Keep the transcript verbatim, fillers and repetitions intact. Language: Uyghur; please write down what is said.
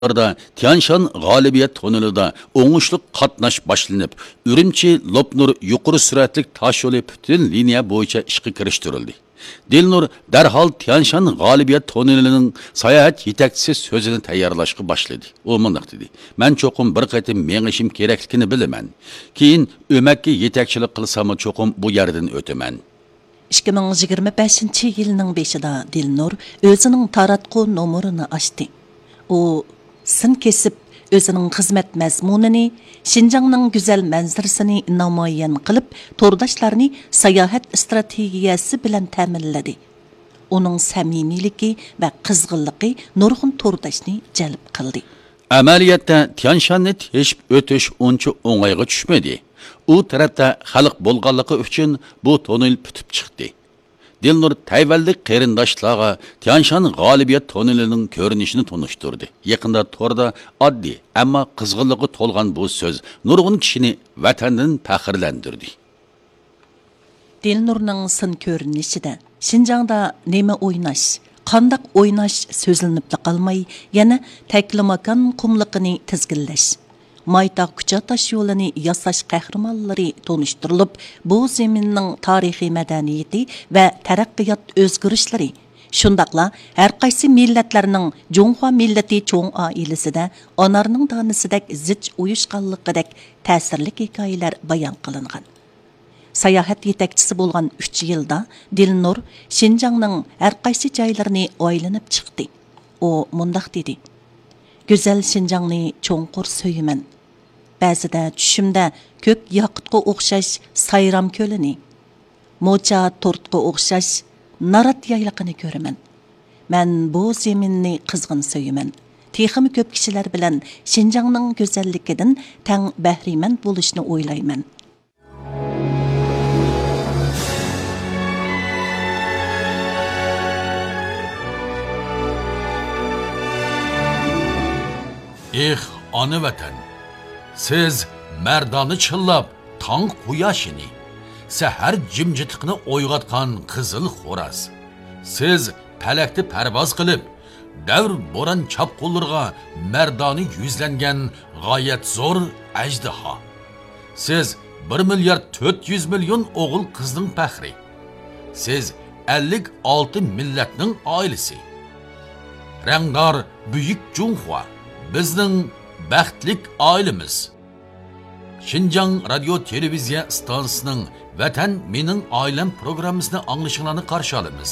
يىللاردا تيانشان غالىبىيەت توننېلىدا ئوڭۇشلۇق قاتناش باشلىنىپ، ئۈرۈمچى لوپنۇر يۇقىرى سۈرئەتلىك تاش يولى پۈتۈن لىنىيە بويىچە ئىشقا كىرىشتۈرۈلدى. دىلنۇر دەرھال تيانشان غالىبىيەت توننېلىنىڭ ساياھەت يېتەكچىسى سۆزىنى تەييارلاشقا باشلىدى. ئۇ مۇنداق دېدى: «مەن چوقۇم بىر قېتىم مېڭىشىم كېرەكلىكىنى بىلىمەن. كېيىن ئۆمەككە يېتەكچىلىك قىلساممۇ چوقۇم بۇ يەردىن ئۆتىمەن.» ئىككى مىڭ يىگىرمە بەشىنچى يىلنىڭ بېشىدا دىلنۇر ئۆزىنىڭ تاراتقۇ نومۇرىنى ئاچتى. ئۇ سىن كېسىپ، ئۆزىنىڭ خىزمەت مەزمۇنىنى شىنجاڭنىڭ گۈزەل مەنزىرىسىنى نامايان قىلىپ، تورداشلارنى ساياھەت ئىستراتېگىيەسى بىلەن تەمىنلىدى. ئۇنىڭ سەمىمىيلىكى ۋە قىزغىنلىقى نۇرغۇن تورداشنى جەلپ قىلدى. ئەمەلىيەتتە، تيانشاننى تېشىپ ئۆتۈش ئۇنچە ئوڭايغا چۈشمىدى. ئۇ تەرەپتە خەلق بولغانلىقى ئۈچۈن بۇ توننېل پۈتۈپ چىقتى. دىلنۇر تەيۋەنلىك قېرىنداشلارغا تيانشان غالىبىيەت توننېلىنىڭ كۆرۈنۈشىنى تونۇشتۇردى. يېقىندا توردا ئاددىي، ئەمما قىزغىنلىققا تولغان بۇ سۆز نۇرغۇن كىشىنى ۋەتەندىن پەخىرلەندۈردى. دىلنۇرنىڭ سىن كۆرۈنۈشىدە شىنجاڭدا نېمە ئويناش، قانداق ئويناش سۆزلىنىپلا قالماي، يەنە تەكلىماكان قۇملۇقىنى تىزگىنلەش، مايتاغ كۇچا تاش يولىنى ياساش قەھرىمانلىرى تونۇشتۇرۇلۇپ، بۇ زېمىننىڭ تارىخىي مەدەنىيىتى ۋە تەرەققىيات ئۆزگىرىشلىرى، شۇنداقلا ھەرقايسى مىللەتلەرنىڭ جۇڭخۇا مىللىتى چوڭ ئائىلىسىدە ئانارنىڭ دانىسىدەك زىچ ئۇيۇشقانلىقىدەك تەسىرلىك ھېكايىلەر بايان قىلىنغان. ساياھەت يېتەكچىسى بولغان ئۈچ يىلدا دىلنۇر شىنجاڭنىڭ ھەرقايسى جايلىرىنى ئايلىنىپ چىقتى. ئۇ مۇنداق دېدى: «گۈزەل شىنجاڭنى چوڭقۇر سۆيىمەن. بەزىدە چۈشۈمدە كۆك ياقۇتقا ئوخشاش سايرام كۆلىنى، موچا تورتقا ئوخشاش نارات يايلىقىنى كۆرىمەن. مەن بۇ زېمىننى قىزغىن سۆيىمەن. تېخىمۇ كۆپ كىشىلەر بىلەن شىنجاڭنىڭ گۈزەللىكىدىن تەڭ بەھرىمەن بولۇشنى ئويلايمەن.» ئېھ، ئانا ۋەتەن! سىز مەردانە چىللاپ تاڭ قۇياشىنى، سەھەر جىمجىتلىقىنى ئويغاتقان قىزىل خوراز. سىز پەلەكتە پەرۋاز قىلىپ، دەۋر بوران چاپقۇنلىرىغا مەردانە يۈزلەنگەن غايەت زور ئەجدىھا. سىز بىر مىليارد تۆت يۈز مىليون ئوغۇل قىزنىڭ پەخرى. سىز ئەللىك ئالتە مىللەتنىڭ ئائىلىسى. رەڭدار بۈيۈك جۇڭخۇا، بىزنىڭ بەختلىك ئائىلىمىز. شىنجاڭ رادىيو تېلېۋىزىيە ئىستانسىسىنىڭ ۋەتەن مېنىڭ ئائىلەم پروگراممىسىنى ئاڭلىشىڭلارنى قارشى ئالىمىز.